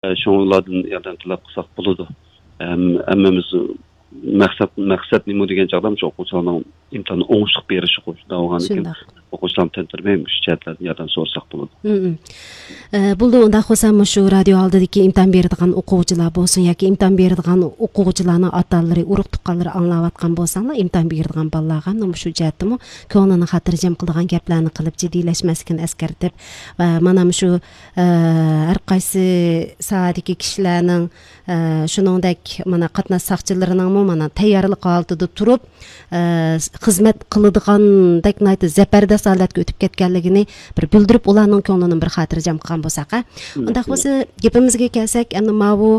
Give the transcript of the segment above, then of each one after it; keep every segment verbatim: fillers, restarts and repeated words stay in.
شۇڭا ئۇلاردىن ياردەم تەلەپ قىلساق بولىدۇ. ھەم-، ھەممىمىز مەقسەت، مەقسەت نېمە دېگەن چاغدا مۇشۇ ئوقۇغۇچىلارنىڭ ئىمتىھاننى ئوڭۇشلۇق بېرىشى، شۇنداق بولغاندىكىن شۇنداق. ئوقۇغۇچىلارنى تەنتىرىمەي مۇشۇ جەھەتلەردىن ياردەم سورىساق بولىدۇ. مم. ئە، بولدى، ئۇنداق بولسا مۇشۇ رادىيو ئالدىدىكى ئىمتىھان بېرىدىغان ئوقۇغۇچىلار بولسۇن ياكى ئىمتىھان بېرىدىغان ئوقۇغۇچىلارنىڭ ئاتا-ئانىلىرى، ئۇرۇق-تۇغقانلىرى ئاڭلاۋاتقان بولساڭلار، ئىمتىھان بېرىدىغان بالىلارغا مۇشۇ جەھەتتىمۇ كۆڭلىنى خاتىرجەم قىلىدىغان گەپلەرنى قىلىپ جىددىيلەشمەسلىكىنى ئەسكەرتىپ، ۋە مانا مۇشۇ، ئە، ھەر قايسى ساھەدىكى كىشىلەرنىڭ، ئە، شۇنىڭدەك مانا قاتناش ساقچىلىرىنىڭمۇ مانا تەييارلىق ھالىتىدە تۇرۇپ، ئە، خىزمەت قىلىدىغاندەك ناھايىتى زەبەردەست ھالەتكە ئۆتۈپ كەتكەنلىكىنى بىر بىلدۈرۈپ، ئۇلارنىڭ كۆڭلىنى بىر خاتىرجەم قىلغان بولساق، ھە؟ ئۇنداق بولسا، گېپىمىزگە كەلسەك، ئەمدى ماۋۇ،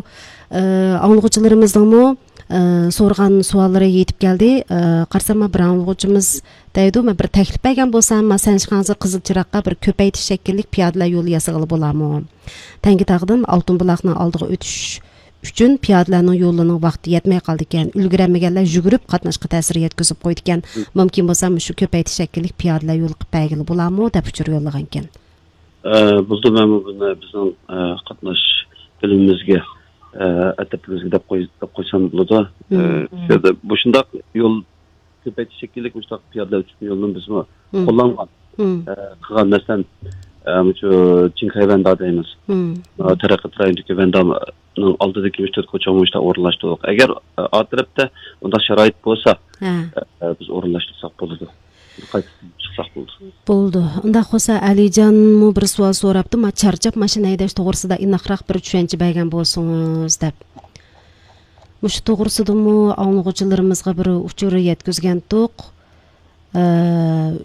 ئە، ئاڭلىغۇچىلىرىمىزنىڭمۇ، ئە، سورىغان سوئاللىرى يېتىپ كەلدى. ئە، قارىسام، بىر ئاڭلىغۇچىمىز دەيدۇ، مەن بىر تەكلىپ بەرگەن بولسام، ما سەنشىخاڭزى قىزىل چىراغقا بىر كۆپەيتىش شەكىللىك پىيادىلەر يولى ياسىغىلى بولامۇ؟ تەڭگىتاغدىن ئالتۇن بۇلاقنىڭ ئالدىغا ئۆتۈش ئۈچۈن پىيادىلەرنىڭ يولىنىڭ ۋاقتى يەتمەي قالىدىكەن، ئۈلگۈرەلمىگەنلەر يۈگۈرۈپ قاتناشقا تەسىر يەتكۈزۈپ قويىدىكەن. مۇمكىن بولسا مۇشۇ كۆپەيتىش شەكىللىك پىيادىلەر يولى قىلىپ بەرگىلى بولامۇ دەپ ئۇچۇر يوللىغانىكەن. ئە، بولدى، مەنمۇ بۇنى بىزنىڭ، ئە، قاتناش بۆلۈمىمىزگە، ئە، ئەترىتىمىزگە دەپ قوي-، دەپ قويسام بولىدۇ. ئە، مم. شۇ يەردە مۇشۇنداق يول كۆپەيتىش شەكىللىك مۇشۇنداق پىيادىلەر ئۈچۈن يولنى بىزمۇ مم. قوللانغان، مم. ئە، قىلغان. مەسىلەن، ئە، مۇشۇ چىڭخەيۋەندە دەيمىز. مم. ئە، تەرەققىيات رايونىدىكى ۋەندانىڭ ئالدىدىكى مۇشۇ تۆت كوچىغا مۇشۇنداق ئورۇنلاشتۇردۇق. ئەگەر، ئە، ئا تەرەپتە ئۇنداق شارائىت بولسا، ھە. ئە، بىز ئورۇنلاشتۇرساق بولىدۇ. قايتىپ چىقساق بولىدۇ. بولىدۇ. ئۇنداق بولسا، ئەلىجانمۇ بىر سوئال سوراپتۇ. ما-، چارچاپ ماشىنا ھەيدەش توغرىسىدا ئېنىقراق بىر چۈشەنچە بەرگەن بولسىڭىز دەپ. مۇشۇ توغرىسىدىمۇ ئاڭلىغۇچىلىرىمىزغا بىر ئۇچۇر يەتكۈزگەنتۇق. ئە،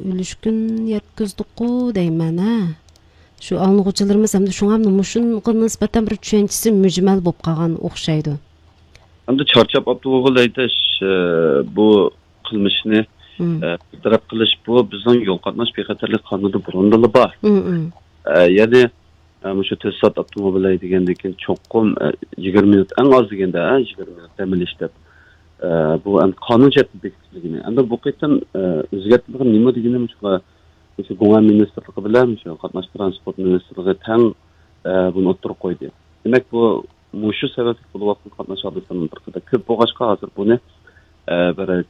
ئۈلۈشكۈن يەتكۈزدۇققۇ دەيمەن، ھە. شۇ ئاڭلىغۇچىلىرىمىز ھەمدە شۇڭا مۇشۇنىڭغا نىسبەتەن بىر چۈشەنچىسى مۈجمەل بولۇپ قالغان ئوخشايدۇ. ئەمدى چارچاپ ئاپتوموبىل ھەيدەش، ئە، بۇ قىلمىشنى، مم. ئە، بىر تەرەپ قىلىش، بۇ بىزنىڭ يول قاتناش بىخەتەرلىك قانۇنىدا بۇرۇندىنلا بار. مم، مم. ئە، يەنى، ئە، مۇشۇ تۆت سائەت ئاپتوموبىل ھەيدىگەندىن كېيىن چوقۇم، ئە، يىگىرمە مىنۇت، ئەڭ ئاز دېگەندە، ئە، يىگىرمە مىنۇت دەم ئېلىش دەپ. ئە، بۇ ئەمدى قانۇن جەھەتتىن بېكىتىلگىنى. ئەمدى بۇ قېتىم، ئە، ئۆزگەرتىلگەن نېمە دېگىنى مۇشۇ، مۇشۇ گۇڭئەن مىنىستىرلىقى بىلەن مۇشۇ قاتناش ترانسپورت مىنىستىرلىقى تەڭ، ئە، بۇنى ئوتتۇرىغا قويدى. دېمەك، بۇ، مۇشۇ سەۋەبلىك بولۇۋاتقان قاتناش ھادىسىلىرىنىڭ بىر قەدەر كۆپ بولغاچقا، ھازىر بۇنى، ئە، بىر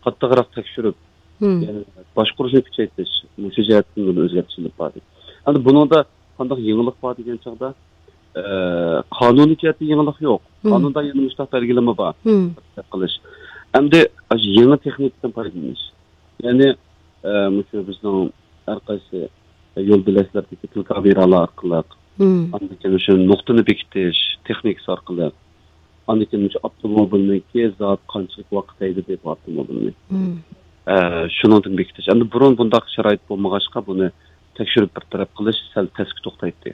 قاتتىقراق تەكشۈرۈپ، مم. يەنى باشقۇرۇشنى كۈچەيتىش، مۇشۇ جەھەتتىن بۇنى ئۆزگەرتىش ئېلىپ باردى. ئەمدى بۇنىڭدا قانداق يېڭىلىق بار دېگەن چاغدا، ئە، قانۇنىي جەھەتتە يېڭىلىق يوق. مم. قانۇندا يەنە مۇشۇنداق بەلگىلىمە بار. مم. قىلىش. ئەمدى ئاشۇ يېڭى تېخنىكىدىن پايدىلىنىش. يەنى، ئە، مۇشۇ بىزنىڭ ھەر قايسى يول بۆلەكلىرىدىكى تېلېكامېرالار ئارقىلىق، مم. ئاندىن كېيىن شۇ نۇقتىنى بېكىتىش تېخنىكىسى ئارقىلىق، ئاندىن كېيىن شۇ ئاپتوموبىلنىڭكى زادى قانچىلىك ۋاقىت ھەيدىدى بۇ ئاپتوموبىلنى. مم. ئە، شۇنىڭدىن بېكىتىش. ئەمدى بۇرۇن بۇنداق شارائىت بولمىغاچقا، بۇنى تەكشۈرۈپ بىر تەرەپ قىلىش سەل تەسكە توختايتتى.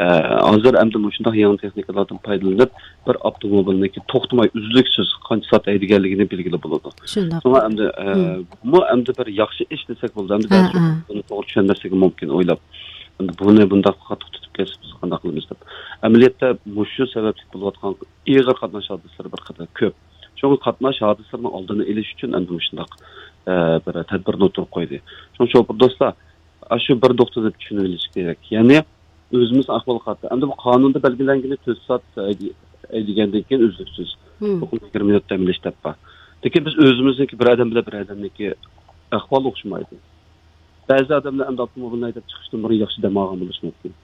ئە، ھازىر ئەمدى مۇشۇنداق يېڭى تېخنىكىلاردىن پايدىلىنىپ، بىر ئاپتوموبىلنىڭكى توختىماي ئۈزلۈكسىز قانچە سائەت ھەيدىگەنلىكىنى بىلگىلى بولىدۇ. شۇنداق. شۇڭا ئەمدى، ئە، مم. بۇمۇ ئەمدى بىر ياخشى ئىش دېسەك بولىدۇ. ئەمدى ھە، بەزى ھە. بۇنى توغرا چۈشەنمەسلىكى مۇمكىن ئويلاپ. ئەمدى بۇنى بۇنداق قاتتىق تۇتۇپ كەتسە بىز قانداق قىلىمىز دەپ. ئەمەلىيەتتە مۇشۇ سەۋەبلىك بولۇۋاتقان ئېغىر قاتناش ھادىسىلىرى بىر قەدەر كۆپ. شۇڭا قاتناش ھادىسىلىرىنىڭ ئالدىنى ئېلىش ئۈچۈن ئەمدى مۇشۇنداق، ئە، بىر تەدبىرنى ئوتتۇرىغا قويدى. شۇڭا شوپۇر دوستلار، ئاشۇ بىر نۇقتىنى چۈشىنىۋېلىش كېرەك. يەنى ئۆزىمىز ئەھۋال قاتتى. ئەمدى بۇ قانۇندا بەلگىلەنگىنى تۆت سائەت ھەيدىگەندىن كېيىن ئۈزلۈكسىز. مم. چوقۇم يىگىرمە مىنۇت دەم ئېلىش دەپ بار. لېكىن بىز ئۆزىمىزنىڭكى بىر ئادەم بىلەن بىر ئادەمنىڭكى ئەھۋالى ئوخشىمايدۇ. بەزى ئادەملەر ئەمدى ئاپتوموبىلنى ھەيدەپ چىقىشتىن بۇرۇن ياخشى دەم ئالغان بولۇشى مۇمكىن.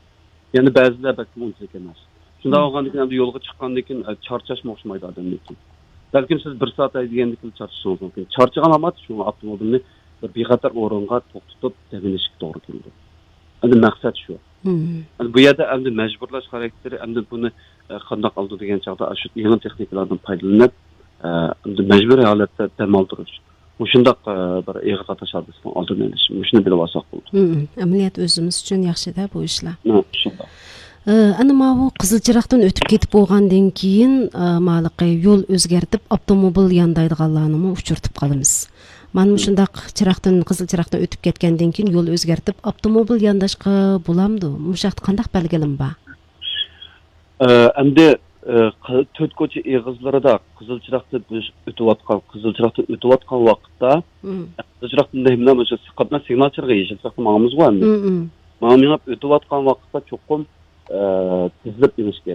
يەنە بەزىلەر بەلكىم ئۇنچىلىك ئەمەس. شۇنداق مم. بولغاندىكىن ئەمدى يولغا چىققاندىن كېيىن، ئە، چارچاشمۇ ئوخشىمايدۇ ئادەمنىڭكى. بەلكىم سىز بىر سائەت ھەيدىگەندىن كېيىن چارچىشىڭىز مۇمكىن. چارچىغان ھالەت شۇڭا ئاپتوموبىلنى بىر بىخەتەر ئورۇنغا توختىتىپ دەم ئېلىشقا توغرا كېلىدۇ. ئەمدى مەقسەت شۇ. مم. ئەمدى بۇ يەردە ئەمدى مەجبۇرلاش خاراكتېرى، ئەمدى بۇنى، ئە، قانداق ئالىدۇ دېگەن چاغدا، ئاشۇ يېڭى تېخنىكىلاردىن پايدىلىنىپ، ئە، ئەمدى مەجبۇرىي ھالەتتە دەم ئالدۇرۇش. مۇشۇنداق، ئە، بىر ئېغىر قاتناش ھادىسىنىڭ ئالدىنى ئېلىش. مۇشۇنى بىلىۋالساق بولىدۇ. مم. ئەمەلىيەت ئۆزىمىز ئۈچۈن ياخشىدە بۇ ئىشلار. مم، شۇنداق. ئە، ئەنە ماۋۇ قىزىل چىراغدىن ئۆتۈپ كېتىپ بولغاندىن كېيىن، ئە، مالىقى يول ئۆزگەرتىپ، ئاپتوموبىل ياندايدىغانلارنىمۇ ئۇچرىتىپ قالىمىز. مانا مۇشۇنداق چىراغدىن، قىزىل چىراغدىن ئۆتۈپ كەتكەندىن كېيىن يول ئۆزگەرتىپ، ئاپتوموبىل يانداشقا بولامدۇ؟ مۇشۇ ھەقتە قانداق بەلگىلىمە بار؟ ئە، ئەمدى، ئە، قى-، تۆت كوچا ئېغىزلىرىدا قىزىل چىراغدا بىز ئۆتۈۋاتقان، قىزىل چىراغدىن ئۆتۈۋاتقان ۋاقىتتا، مم. قىزىل چىراغدىن دېمىلا مۇشۇ قاتناش سىگنال چىرىغى يېشىل چىراغدا ماڭىمىزغۇ ئەمدى. مم، مم. ماڭا مېڭىپ ئۆتۈۋاتقان ۋاقىتتا چوقۇم ئە، تىزىلىپ ئېلىش كېرەك.